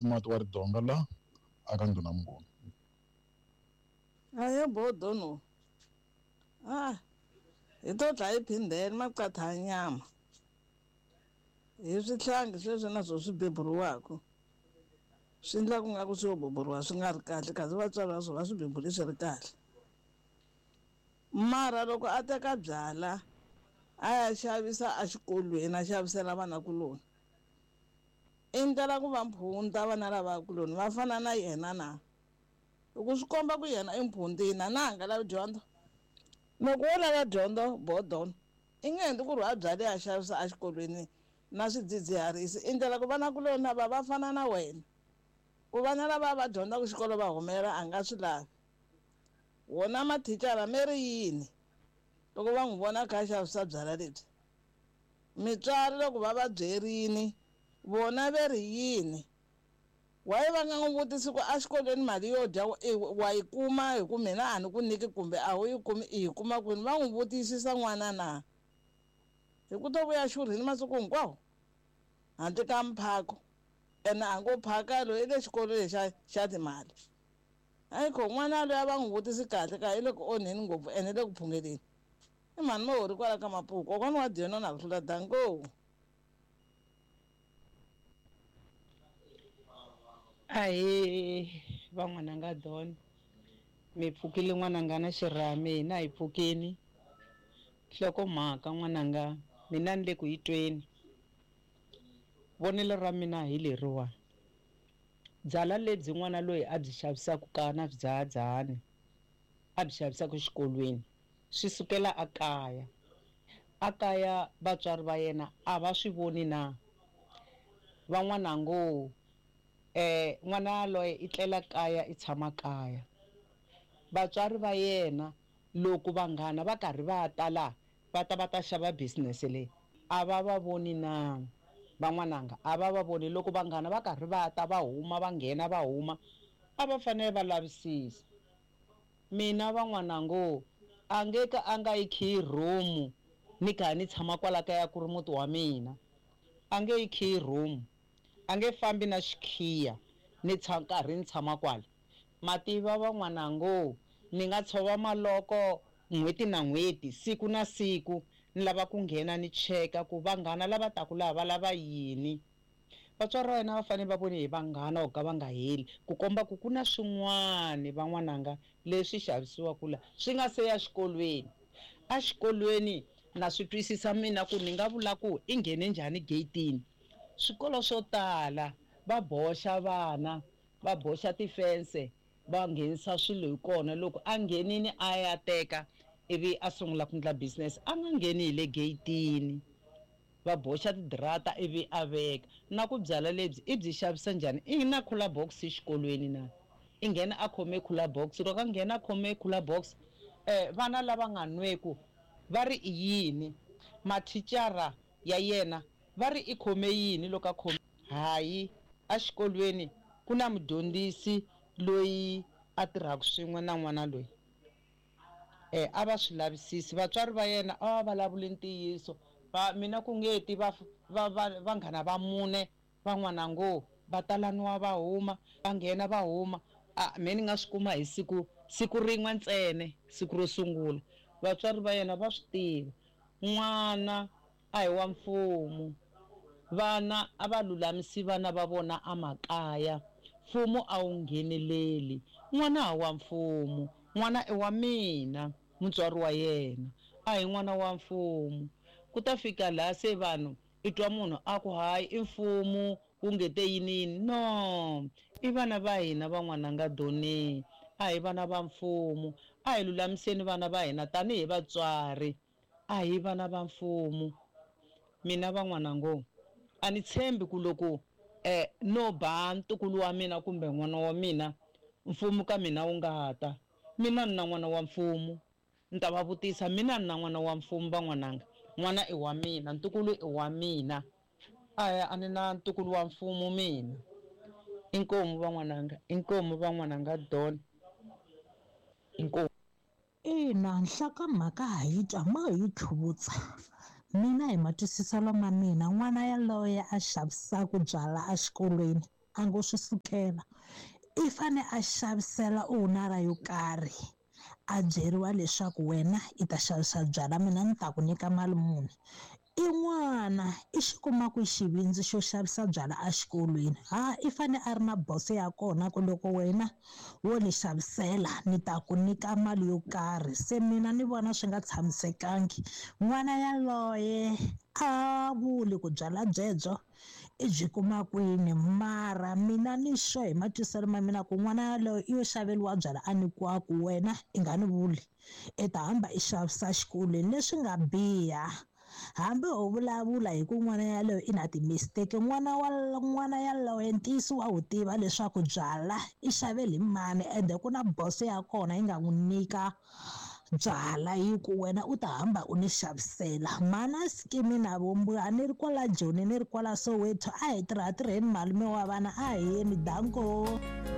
Mati wa Ridonga la aka Ndhuna Mnguni. Aye bodo no. Ah. Hi to dlaya hi phindhele maqatha ya nyama. Hi swihlangi sweswi na swo swi beburiwaka. Swi endla ku nga ku swi yo beburiwa swi nga ri kahle kasi vatswari va swona va swi bebule swi ri kahle. Mara loko a teka byala a ya xavisa exikolweni a xavisela vanakuloni i ndlela ku va mphunta vana lavakuloni va fana na yena na? Hi ku swi komba ku yena i mphuntina na a nga lavi dyondzo. Loko wo lava dyondzo bodon i nge endli ku ri a byale a xavisa exikolweni na swidzidziharisi i ndlela ku vanakuloni lava va fana na wena. Ku vana lava va dyondzaka xikolo va humelela a nga swi lavi. Wona mathicara me ri yini loko va n'wi vona a kha a xavisa byala lebyi? Mitswari loko va va byerini vona ve ri yini? Why va nga n'wi vutisi ku exikolweni mali yo dya wa yi kuma hi ku mina a ni ku nyiki kumbe a wu yi kumi i yi kuma kwini? Va n'wi vutisisa n'wana na? Hi ku to vuya xurhini masiku hinkwawo handle ka mphako ene a ngo phaka loyi i le xikolweni xa xa timali. Ayikho n'wana loyi a va n'wi vutisi kahle ka i le ku onheni ngopfu ene le ku phungeleni. I mhani Mahori kwala ka Mapuku kokwani wa Dion na ku hlula danko. Ahee van'wananga Don mi pfukile n'wananga na xirhami hina hi pfukini nhlokomhaka n'wananga mina ni le ku yi tweni vonelo ra mina hi leriwa byala lebyi n'wana loyi a byi xavisaka ka na swidzahadzahani a byi xavisaka exikolweni swi sukela a kaya a kaya vatswari va yena a va swi voni na van'wana ngo n'wana yaloye i tlela kaya i tshama kaya vatswari va yena loko vanghana va karhi va ta la va ta va ta xava business leyi a va va voni na van'wananga a va va voni loko vanghana va karhi va ta va huma va nghena va huma a va fanele va lavisisa mina van'wanango a nge ka a nga yi khiyi room ni kha ni tshama kwala kaya ku ri muti wa mina a nge yi khiyi room a nge fambi na xikhiya ni karhi ni tshama kwala mativa van'wanango ni nga tshova maloko n'hweti na n'hweti siku na siku ni lava ku nghena ni cheka ku vanghana lava taku laha va lava yini vatswari va yena va fanele va vone hi vanghana ku ka va nga heli ku komba ku ku na swin'wani van'wananga leswi xavisiwaka la swi nga se ya xikolweni exikolweni na swi twisisa mina ku ni nga vula ku i nghene njhani gate-ini swikolo swo tala va boxa vana va boxa tifense va nghenisa swilo hi kona loko a nghenini a ya teka ivi a sungula ku endla business a nga ngheni hi le gate-ini va boxa tidirata ivi a veka na ku byala lebyi i byi xavisa njhani i na cooler box exikolweni na i nghena a khome cooler box loko a nghena a khome cooler box vana lava nga nweku va ri i yini mathicara ya yena va ri i khome yini loko a khome hayi exikolweni ku na mudyondzisi loyi a tirhaka swin'we na n'wana loyi a va swi lavisisi vatswari va yena a va vulavuli ntiyiso va mina ku nge ti va va va vanghana va mune van'wana ngo va talaniwa va huma va nghena va huma a me ni nga swi kuma hi siku siku rin'we ntsena siku ro sungula vatswari va yena va swi tiva n'wana a hi wa mfumo vana a va lulamisi vana va vona emakaya mfumo a wu ngheneleli n'wana a wa mfumo n'wana i wa mina mutswari wa yena a hi n'wana wa mfumo ku ta fika laha se vanhu i twa munhu a ku hayi i mfumo wu nge te yini yini no i vana va hina van'wananga doni a hi vana va mfumo a hi lulamiseni vana va hina tanihi vatswari a hi vana va mfumo mina van'wanango a ni tshembi ku loko no ba ntukulu wa mina kumbe n'wana wa mina mfumo ka mina wu nga ta mina ni na n'wana wa mfumo ni ta va vutisa mina ni na n'wana wa mfumo van'wananga n'wana i wa mina ntukulu i wa mina a ni na ntukulu wa mfumo mina inkomu van'wananga inkomu van'wananga Don inkomu. Ina nhlokomhaka ha yi twa mo hi yi tlhuvutsa mina hi matwisiselo ma mina n'wana yaloye a xavisaka byala exikolweni A ngo swi sukela, i fane a xavisela owner yo karhi, a byeriwa leswaku wena i ta xavisa byala, mina ni ta ku nyika mali muni. I n'wana i xi kuma ku xivindzi xo xavisa byala exikolweni? Ha, i fane a ri na boso ya kona ku loko wena wo ni xavisela ni ta ku nyika mali yo karhi. Se mina ni vona swi nga tshamisekangi. N'wana yaloye a vuli ku byala byebyo i byi kuma kwini, mara mina ni sure hi matwisiselo ma mina ku n'wana yaloye i yo xaveriwa byala, a nyikiwa ku wena i nga ni vuli, i ta hamba i xavisa xikolweni. Leswi nga biha, hambi ho vulavula hi ku n'wana yaloye i na ti-mistake, n'wana wa n'wana yaloye ntiyiso wa wu tiva leswaku byala i xavele hi mani, ende ku na boso ya kona yi nga n'wi nyika byala yi ku wena u ta hamba u ni xavisela. Mana skimi na vumbuya, ni ri kwala Joni, ni ri kwala Soweto, a hi tirha tirheni, malume wa vana, a hi yeni, danko.